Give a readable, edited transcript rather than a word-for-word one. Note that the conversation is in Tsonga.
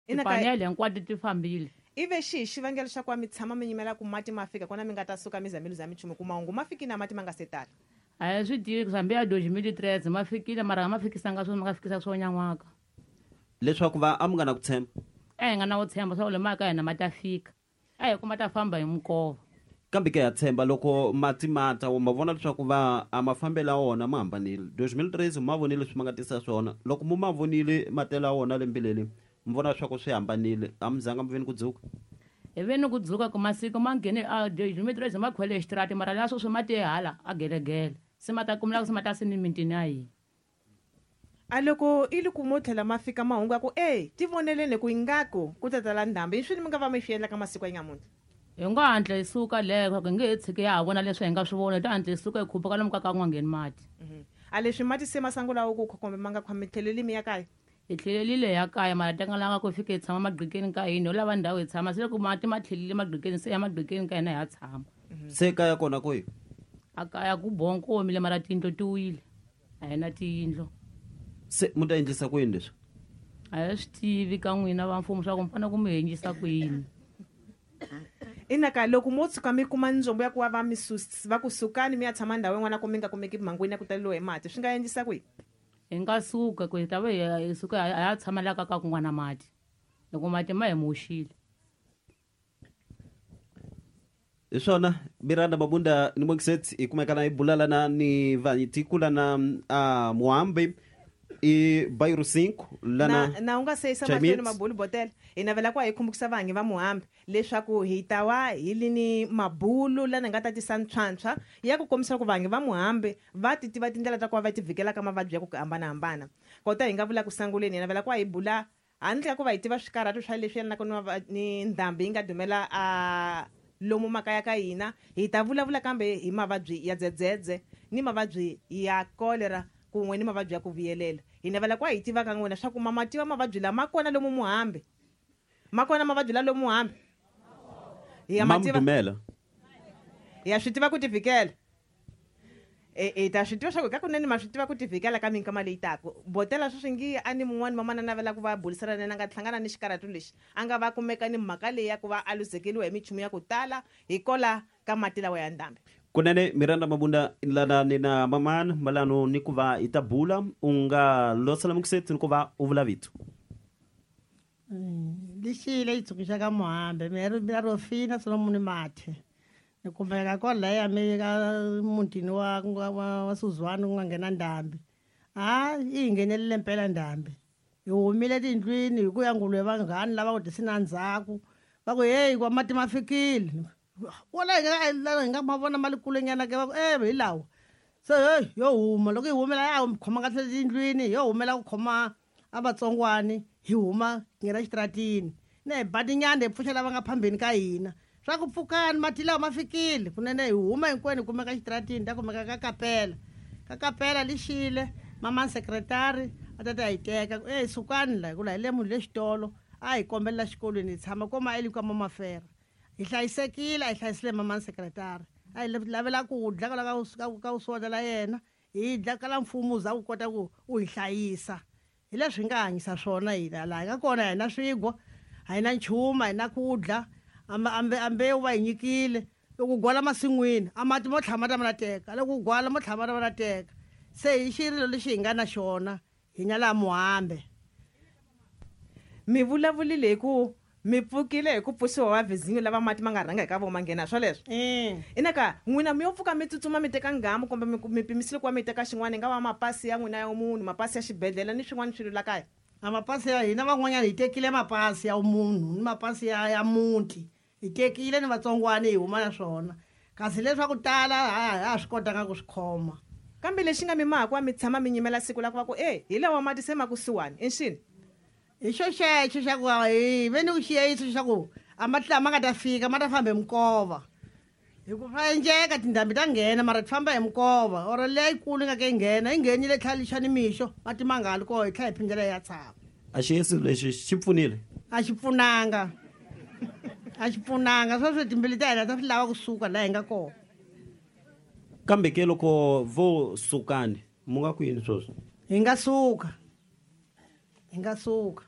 Ina ka- Tipanele hinkwato ti fambile. Ive xihi xivangelo xa ku va mi tshama mi yimela ku mati ma fika kona mi nga ta suka mi za mi luza minchumu ku mahungu ma fikile na mati ma nga se tala? A hi swi tivi ku hambi ya 2013 ma fikile mara a ma fikisanga swona ma nga fikisa swo nyan'waka. Leswaku va a mi nga na ku tshemba? A hi nga na ku tshemba swa ku le maya ka hina ma ta fika. A hi ku ma ta famba hi minkova. Kambe ke ha tshemba loko mati ma ta, ma vona leswaku va a mafambelo ya wona ma hambanile. 2013 ma vonile leswi ma nga tisa swona. Loko mu ma vonile matelo ya wona lembe leri, mi vona leswaku swi hambanile. A mi zanga mi ve ni ku dzuka? Hi ve ni ku dzuka ku masiku ma nghene a 2013 ma khwele xitirati mara la sweswi ma te hala a gelegele. Se ma ta kumela ku se ma ta se ni mitini ya hina. A loko i li ku mo tlhela ma fika mahungu ya ku, E, tivoneleni ku ingaku ku ta tala ndhambi, i swini mi nga va mi swi endla ka masiku ya nyamuntlha? Hi ngo hatla hi suka le, hi nge he tshiki ya ha vona leswi hi nga swi vona, hi to hatla hi suka hi khupuka lomu ka ka ku nga ngheni mati. A leswi mati se ma sangulaku ku khwa kumbe ma nga khwa, mi tlheleli mi ya kaya? Hi tlhelelile hi ya kaya, mara tekalanga ku hi fike hi tshama magqikeni ka hina, ho lava ndhawu hi tshama. Se loko mati ma tlhelile magqikeni, se ya magqikeni ka hina hi ya tshama. Se kaya kona kwihi? A kaya ku bongo ku omile mara tiyindlu ti wile. A hi na tiyindlu. Se mu ta endlisa ku yini leswi? A hi swi tivi ka n'wina va mfumo swa ku mi fanele ku mi endlisa ku yini. Ina ka loko mo tshuka mi kuma ndzombo ya ku va va mi va ku sukani mi ya tshama ndhawu yin'wana ku mi nga kumeki mhangwini ya ku taleriwa hi mati, swi nga endlisa ku yini? Hi nga suka ku hi ta va hi suka hi ya tshama la ka ka ku nga na mati, loko mati ma hi moxile. Hi swona Miranda Mabunda ni Monkset hi kumeka hi bula lana ni vanyitiku lana a Muhambi i Bairro 5 lana na, na u nga se yisa Chinese. mahlweni mabulu botela hi navela ku va hi khumbukisa vangi va Muhambi leswaku hi ta wa hi li ni mabulu lana nga ta tisa ntswantshwa ya ku kombisa ku vangi va Muhambi va ti tiva tindlela ta ku va va ti vhikela ka mavabyi ya ku hambanahambana. Kota hi nga vula ku sanguleni hi navela ku va hi bula Handle ka ku va hi tiva swikarhato swa leswi yelanaka ni ni ndhambi yi nga dumela a lomu makaya ka hina, hi ta vulavula kambe hi mavabyi ya dzedzedze ni mavabyi ya kolera kun'we ni mavabyi ya ku vuyelela. Hi navela ku va hi tiva ka n'wina swa ku ma ma tiva mavabyi lawa ma kona lomu Muhambi. Ma kona mavabyi lawa lomu Muhambi? Hi ya ma Ma mi tiva? dumela? Hi ya swi tiva ku tivhikela? E, e ta swi tiva swa ku kakunene ma swi tiva ku tivhikela ka minkama leyi taka. Botela sweswi ngi a ni mun'wani mamana navela ku va bulisana na yena a nga hlangana ni xikarhato lexi a nga va kumeka ni mhaka leyi ya ku va a luzekeliwa hi michumu ya ku tala hikola ka mati lawa ya ndhambi. Kunene Miranda Mabunda lana ni na mamana malano ni ku va hi ta bula u nga losela mukiseti ni ku va u vula vito. Lexi leyi tsundzuxaka Muhambi mina Rofina Solomon Mathe Ni kumeka kwalaya mi ka mutini wa wa wa Suzwani ku nga nghena ndhambi. Ha yi hi nghenelile mpela ndhambi. Hi humile tindlwini hi ku ya nguluve vanghani lava ku ti na ndzhaku va ku heyi kwa mati ma fikile. Wala hi nga hi nga ma vona ma le kulenyana ke va ku e hi lawa. Se heyi yo huma loko hi humela ya khoma kahle tindlwini yo humela ku khoma a vatsongwani hi huma hi nghena xitaratini na hi ba tinyanda hi pfuxa lava nga phambeni ka hina swa ku pfukani mati lawa ma fikile kunene hi huma hinkwenu hi kumeka xitaratini ta kumeka ka kapela ka kapela lixile mama sekretari a ta ta hi teka ku e sukani la hikuva hi le munhu le xitolo a hi kombelela xikolweni hi tshama koma eli ka mamafera hi hlayisekile a hi hlayisile mama sekretari a hi lavela ku dla kwala ka ka uswota la yena Hi dla kala mfumo wu za wu kota ku wu hi hlayisa. Hi leswi hi nga hanyisa swona hina. Laha hi nga kona a hi na swigwa, a hi na nchumu, a hi na ku dla. A a mbewu va hi nyikile. Loko u gwala masin'wini, a mati mo tlhela ma ta ma la teka, loko u gwala mo tlhela ma ta ma la teka. Se hi xirilo lexi hi nga na xona hina laha Muhambe. Mi vulavulile hi ku Mi pfukile hi ku pfuxiwa va vhizinyo lava mati ma nga rhanga hi ka vona ma nghena, swoleswo? Ina ka, n'wina mi yo pfuka mi tsutsuma mi teka nghamu kumbe mi, mi pimisile ku va mi teka xin'wana, yi nga va mapasi ya n'wina ya vumunhu, mapasi ya xibedlhele ni swin'wana swilo la kaya? A mapasi ya hina van'wanyana hi tekile mapasi ya vumunhu ni mapasi ya, ya muti, hi tekile ni vatsongwana hi huma na swona, kasi leswa ku tala a ha ha swi kotanga ku swi khoma. Kambe lexi nga mi maha ku va mi tshama mi nyimela siku la ku va ku, E, hi lawa mati se ma kusuhani, i nxini? Hi xo xexo xa ku hi ve ni ku xiyeyiso xa ku a mati lama nga ta fika ma ta famba hi minkova hi ku swa endleka tindhambi ta nghena mara ti famba hi minkova or leyikulu yi nga ke yi nghena yi nghenile tlhela lixa ni mixo mati ma nga ha li koho hi tlhela hi phindela hi ya tshama. A xiyeyiso lexi xi pfunile? A xi pfunanga a xi pfunanga sweswi timbilu ta hina ta swi lava kusuka laha hi nga kona. Kambe ke loko vo sukani mu nga ku yini sweswi? Hi nga suka. Hi nga suka.